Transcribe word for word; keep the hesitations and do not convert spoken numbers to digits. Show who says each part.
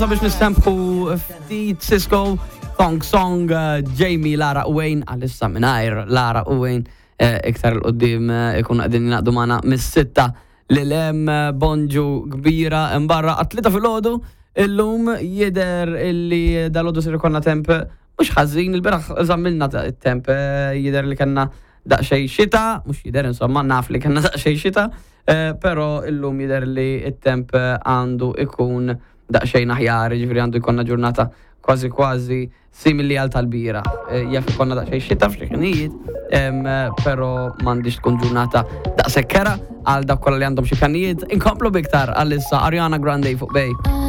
Speaker 1: Sabiex nistempħu ftit Sisqó, Thong Song, eh, Jamie, Lara u Wayne, għalissa mingħajr Lara u Wayne, eh, iktar 'il quddiem eh, ikun qegħdin jingħaqdu magħna mis-sitta lil hemm. Bonġu kbira imbarra għat-tlieta filgħodu. Illum jidher illi dalgħodu ser ikollna temp mhux ħażin. Il-bieraħ żammilna it-temp, jidher li kellna daqsxejn xita, mhux jidher, insomma, naf li kellna daqsxejn xita, però illum jidher li it-temp għandu ikun daqsxejn aħjar, ġifieri għandu jkollna ġurnata kważi kważi simili għal tal-bieraħ. Jaf ikollna daqsxejn xita f'xi ħinijiet, però m'għandix tkun ġurnata daqshekk kerha għal dak kollha li għandhom xi pjanijiet. Inkomplu biktar għalissa Ariana Grande fuq Bay.